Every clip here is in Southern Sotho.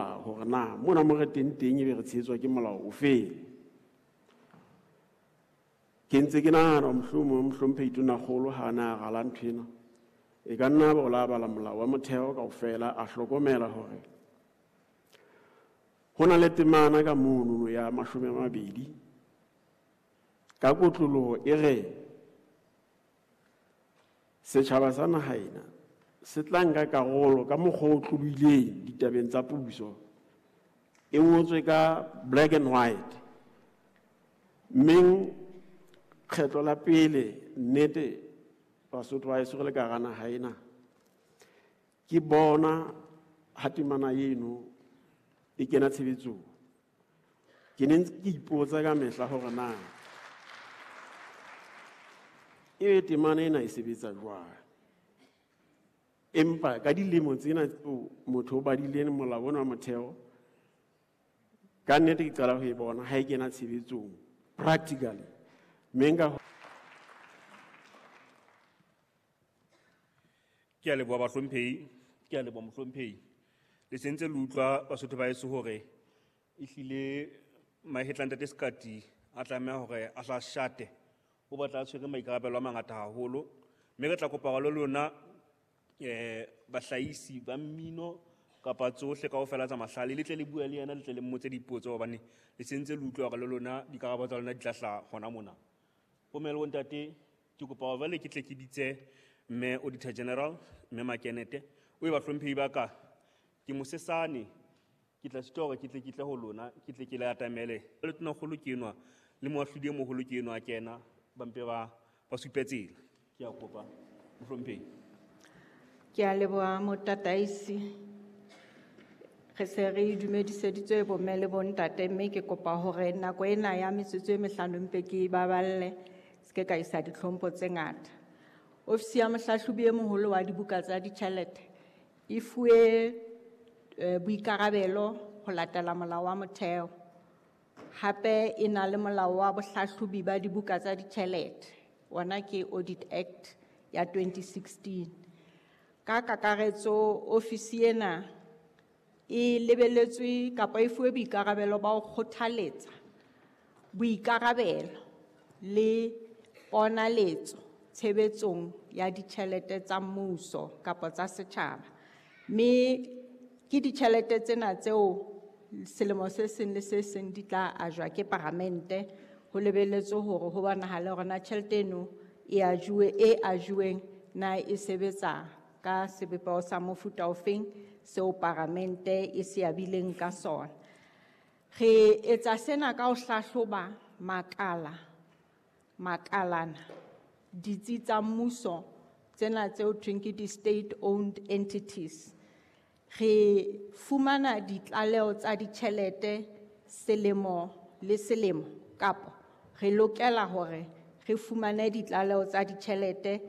molao hore na mona mo re teng teng ebe re tshehetswa ke molao ofe. Ke ntse ke nahana mohlomong mohlomphehi Tonakgolo ha a na a rala ntho ena, e ka nna ba o la bala molao wa motheo kaofela, a hlokomela hore ho na le temana ka monono ya 20 ka kotloloho e re setjhaba sa naha ena se tla nka karolo ka mokgwa o tlolohileng ditabeng tsa puso. E ngotswe ka black and white. Mmeng kgetlo la pele nnete Basotho ba heso re le ka hara naha ena, ke bona ha temana eno e kena tshebetsong. Ke ne ntse ke ipotsa ka mehla hore na ebe temana ena e sebetsa jwang. Empa ka dilemo tsena tseo motho o badileng molao ona wa motheo, ka nnete ke qala ho e bona ha e kena tshebetsong practically. Mme nka Ke a leboha bahlomphehi, ke a leboha mohlomphehi. Le sentse le utlwa Basotho ba heso hore ehlile mahetla ntate Sekati a tlameha hore a hla shate, o batla a tshwere maikarabelo a mangata haholo. Mme re tla kopa hore le lona bahlahisi ba mmino kapa tsohle kaofela tsa mahlale le tle le bue le yena, le tle le mmotse dipotso, hobane le sentse le utlwa hore le lona dikarabo tsa lona di tla hlaha hona mona. Bomme le bontate, ke kopa hore jwale ke tle ke bitse mme Auditor General, mme Makenete. O e bahlomphehi ba ka, ke mosesane, ke tla sitwa hore ke tle ke tle ho lona, ke tle ke le atamele. Le Tonakgolo ke enwa, le moahlodi e moholo ke enwa a kena, ba mpe ba supe tsela. Ke a kopa, mohlomphehi. Ke a leboha motataisi. Re se re dumediseditswe bomme le bontate, mme ke kopa hore nako ena ya metsotso e mehlano mpe ke e baballe, se ke ka isa ditlhompho tse ngata. Ofisi ya mohlahlobi e moholo wa dibuka tsa ditjhelete e fuwe boikarabelo ho latela molao wa motheo. Hape e na le molao wa bohlahlobi ba dibuka tsa ditjhelete, ona ke Audit Act ya 2016. Ka kakaretso ofisi ena e lebeletswe kapa e fuwe boikarabelo ba ho kgothaletsa boikarabelo le ponaletso tshebetsong ya ditjhelete tsa mmuso kapa tsa setjhaba. Mme ke ditjhelete tsena tseo selemo se seng le se seng di tla ajwa ke paramente, ho lebeletswe hore ho bonahale hore na tjhelete eno e ajuwe, e ajuweng na e sebetsa ka sebopeho sa mofuta ofeng seo paramente e se abileng ka sona. Re etsa sena ka ho hlahloba makalana, ditsi tsa mmuso tsena tseo thweng ke di-state owned entities. Re fumana ditlaleho tsa ditjhelete selemo le selemo, kapa re lokela hore re fumane ditlaleho tsa ditjhelete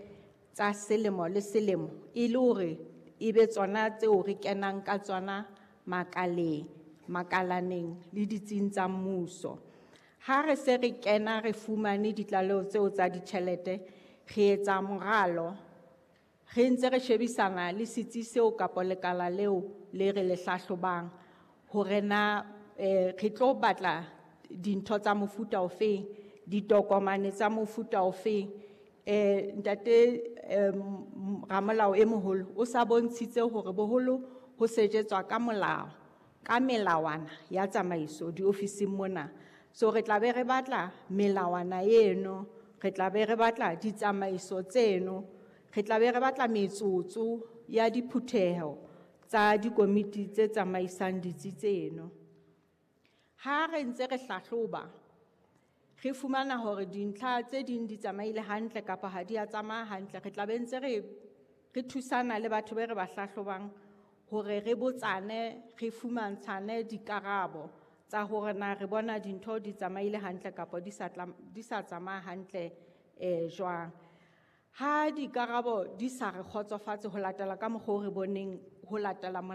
tsa selemo le selemo e le hore e be tsona tseo re kenang ka tsona makaleng, makalaneng le ditsing tsa mmuso. Ha re se re kena re fumane ditlaleho tseo tsa ditjhelete, re etsa moralo, re ntse re shebisana le setsi seo kapa lekala leo le re le hlahlobang hore na re tlo batla dintho tsa mofuta ofeng, ditokomane tsa mofuta ofeng. Ntate ramolao e moholo o sa bontshitse hore boholo ho sejetswa ka molao, ka melawana ya tsamaiso diofising mona. So re tla be re batla melawana eno, re tla be re batla ditsamaiso tseno, re tla be re batla metsotso ya diphutheho tsa dikomiti tse tsamaisang ditsi tseno. Ha re ntse re hlahloba, re fumana hore dintlha tse ding di tsamaile hantle kapa ha di a tsamaya hantle, re tla be ntse re thusana le batho be re ba hlahlobang hore re botsane, re fumantshane dikarabo tsa hore na re bona dintho di tsamaile hantle kapa di sa tsamaya hantle jwang. Ha dikarabo di sa re kgotsofatse ho latela ka mokgwa o re boneng ho latela